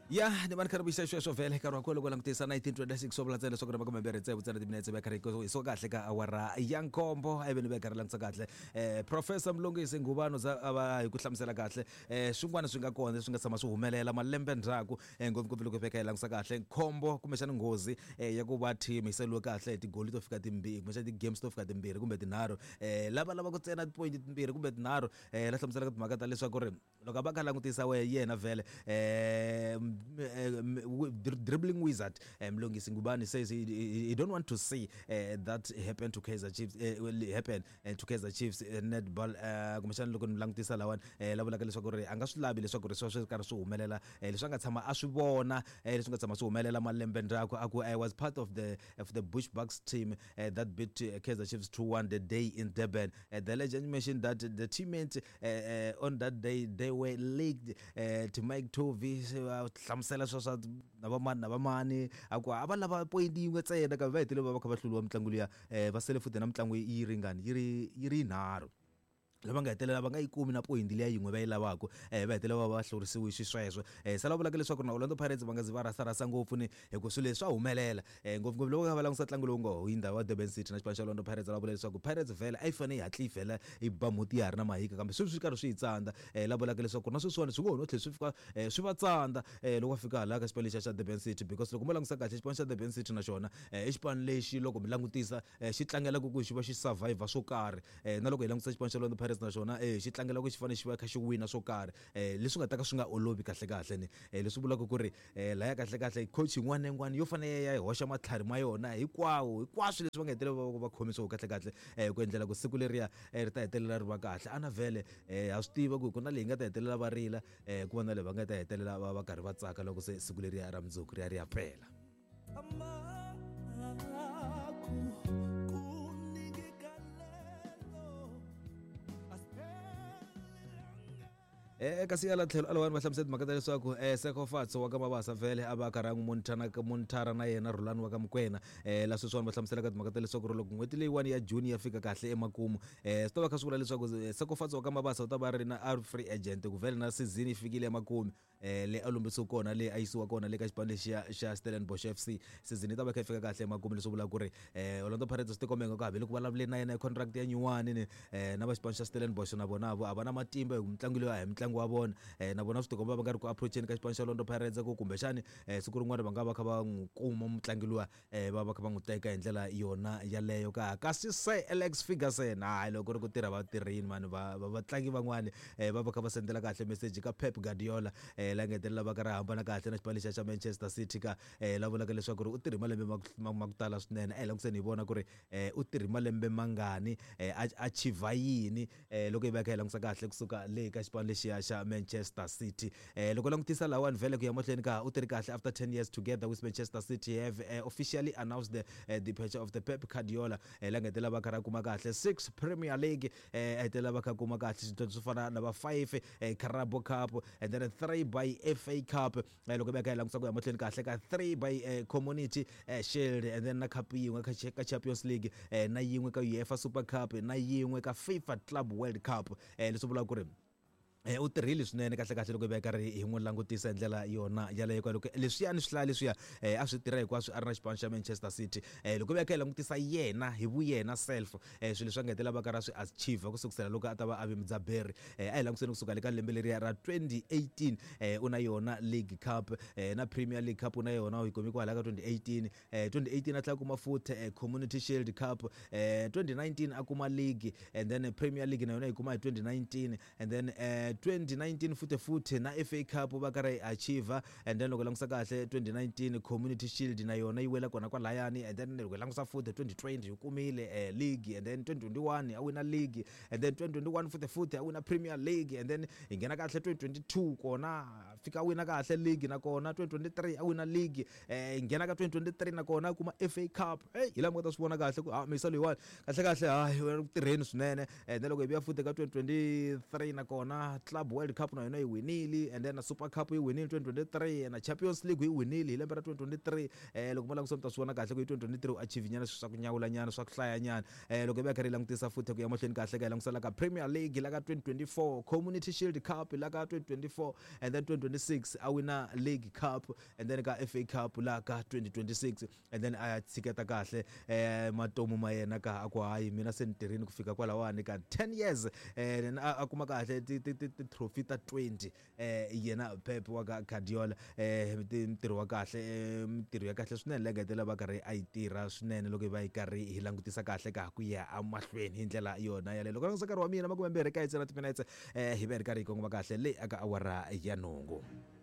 Ya ni va ni karhi vuyisa sweswo vhele nkarhi wa kona loko langutisa 1926 swo vula ntsena leswaku ri makumembirhi tsevu ntsena timinetse va karhi hi so kahle ka awara ya nkombo ivi ni va karhi langutisa kahle professor Mlungisi Ngubano za a va hi ku hlamusela kahle swin'wana swi nga kona leswi nga tshama swi humelela malembe ndzhaku ngopfungopfu loko hi veka hi langutisa kahle khombo kumbexana nghozi ya ku va team yi saliwe kahle hi tigoli to fika timbirhi kumbexana ti-games to fika timbirhi kumbe tinharhu lava lavaka ntsena ti-point timbirhi kumbe tinharhu la hlamuselaka timhaka ta leswaku ri loko a va kha langutisa we yena vhele dribbling wizard Mlungisi Ngubane says he don't want to see that happen to Kaizer Chiefs, will happen to Kaizer Chiefs netball. Kumbexana loko ni langutisa lawani la vulaka leswaku ri a nga swi lavi leswaku ri swi swi karhi swi humelela leswi a nga tshama a swi vona leswi nga tshama swi humelela malembe ndzhaku. A ku I was part of the Bush Bucks team that beat Kaizer Chiefs 2-1 the day in Durban. The legend mentioned that the teammates on that day, they were leaked to Mike Tovey hlamusela swa swa na vamani na vamani a ku a va lava point yin'we ntsena kambe va hetelele va va kha va hluriwa mitlangu liya va sele futhi na mitlangu yi ringani yi ri yinharhu lava nga hetelela va nga yi kumi na point liya yin'we va yi lavaka va hetelela va va hlurisiwe xisweswo. Se la vulaka leswaku na Orlando Pirates va nga zi va rasarasa ngopfu ni hi ku swilo leswi swa humelela ngopfungopfu loko va langutisa ntlangu lowu nga hundza wa Durban City na xipano xa Orlando Pirates. Va vula leswaku Pirates vhele a yi fanele yi hatli yi vhela yi ba mhuti ya ha ri na mahika kambe sweswi swi karhi swi yi tsandza. La vulaka leswaku na sweswiwani swi ngo ho no tlhela swi fika swi va tsandza loko va fika hala ka xipano lexiya xa Durban City because loko mo langutisa kahle xipano xa Durban City na xona i xipano lexi loko mi langutisa xi tlangela ku xi va xi survivor swo karhi na loko hi langutisa xipano xa Orlando Pirates na xona xi tlangela ku xi fanele xi va kha xi wina swo karhi leswi nga ta ka swi nga olovi kahle kahle ni leswi vulaka ku ri laya kahle kahle coach yin'wana na yin'wana yo fanele ya hoxa matlhari ma yona hinkwawo hinkwaswo leswi va nga hetelela va va khomisiwa kahle kahle ku endlela ku siku leriya ri ta hetelela ri va kahle. Ana vhele ha swi tiva ku ku na leyi nga ta hetelela va rila ku va na leyi va nga ta hetelela va va karhi va tsaka loko se siku leriya ra mundzuku ri ya ri ya pela. Kasi hala tlhelo alawani va hlamusela timhaka ta leswaku Sekofatso wa ka Mabasa vhele a va a karhi a n'wi monitor na yena Rhulani wa ka Mukwena la sweswiwani va hlamuselaka timhaka ta leswaku ri loko n'hweti leyiwani ya June ya fika kahle emakumu swi ta va kha swi vula leswaku Sekofatso wa ka Mabasa u ta va ri na a ri free agent ku vhele na season yi fikile emakumu le a lombisiwe kona le a yisiwa kona le ka xipano lexiya xa Stellenbosch FC. Season yi ta va kha yi fika kahle emakumu leswi vulaka ku ri Orlando Pirates swi tikomba ingaku hambi loko vulavule na yena hi contract ya nyuwani ni na va xipano xa Stellenbosch na vona vo a va na matimba hi ku mitlangu leyi a hi mitlangu wa vona na vona swi tikomba va nga ri ku approacheni ka xipano xa Orlando Pirates ku kumbexani siku rin'wana va nga va kha va n'wi kuma mutlangi luwa va va kha va n'wi teka hi ndlela yona yaleyo ka. Kasi Sir Alex Ferguson hayi loko ri ku tirha va tirhini mani va vatlangi van'wani va va kha va sendela kahle message ka Pep Guardiola la nga hetelela va ka ri hambana kahle na xipano lexiya xa Manchester City ka la vulaka leswaku ri u tirhe malembe ma ku tala swinene. A hi languseni hi vona ku ri u tirhe malembe mangani a achieve yini loko hi va kha hi langutisa kahle kusuka le ka xipano lexiya xa Manchester City. Loko langutisa lawani vhele ku ya mahlweni ka u tirhi kahle after 10 years together with Manchester City have officially announced the departure of the Pep Guardiola la nga hetelela va kha ra kuma kahle 6 Premier League a hetelela va kha kuma kahle swidlodlo swo fana na va 5 Carabao Cup and then 3 by FA Cup loko hi va kha hi langutisa ku ya mahlweni kahle ka 3 by Community Shield and then na cup yin'we ka Champions League na yin'we ka UEFA Super Cup na yin'we ka FIFA Club World Cup leswi vulaka ku ri u tirhile swinene kahle kahle loko hi va karhi hi n'wi langutisa hi ndlela yona yaleyo ka loko leswiyani swi hlaya leswiya a swi tirha hinkwaswo a ri na xipano xa Manchester City. Loko hi va kha hi langutisa yena hi vuyena self swilo leswi a nga hetelela va karhi a swi achieve ku sukusela loko a ta va a ve mudzaberi a hi langutiseni kusuka le ka lembe leriya ra 2018 u na yona League Cup na Premier League Cup u na yona u yi kumi kwala ka 2018. 2018 a tlhela kuma futhi Community Shield Cup, 2019 a kuma league and then Premier League na yona yi kuma hi 2019 and then 2019 futhi futhi na FA Cup va karhi achieve and then loko langutisa kahle 2019 Community Shield na yona yi wela kona kwalayani and then loko langutisa futhi 2020 yi kumile league and then 2021 a wina league and then 2021 futhi futhi a wina Premier League and then hi nghena kahle 2022 kona fika a wina kahle league na kona 2023 a wina league hi nghena ka 2023 na kona a kuma FA Cup. Hey, hi laha mi nga ta swi vona kahle ku ha misa loyiwani kahle kahle hayi u ku tirheni swinene. And then loko hi vuya futhi ka 2023 na kona Club World Cup na yona yi winile and then na Super Cup yi winile 2023 na Champions League yi winile hi lembe ra 2023. Loko mo langutisa mi ta swi vona kahle ku hi 2023 u achieve nyana swilo swa ku nyawula nyana swa ku hlaya nyana. Loko hi va karhi hi langutisa futhi ku ya mahlweni kahle ka hi langutisa la ka Premier League la ka 2024, Community Shield Cup la ka 2024 and then 20 2026 a wina League Cup and then ka FA Cup la ka 2026, and then a ya tshiketa kahle matomu ma yena ka a ku hayi, mina se ni tirhini ku fika kwalawani ka 10 years. Then a kuma kahle ti-trophy ta 20, yena Pep wa ka Guardiola. Ntirho wa kahle, mintirho ya kahle swinene leyi nga hetelela va karhi a yi tirha swinene loko hi va hi karhi hi langutisa kahle ka ku ya emahlweni hi ndlela yona yaleyo. Loko langutisa nkarhi wa mina 29 na timinetse, hi va hi ri karhi hi kongoma kahle le aka awara ya 8.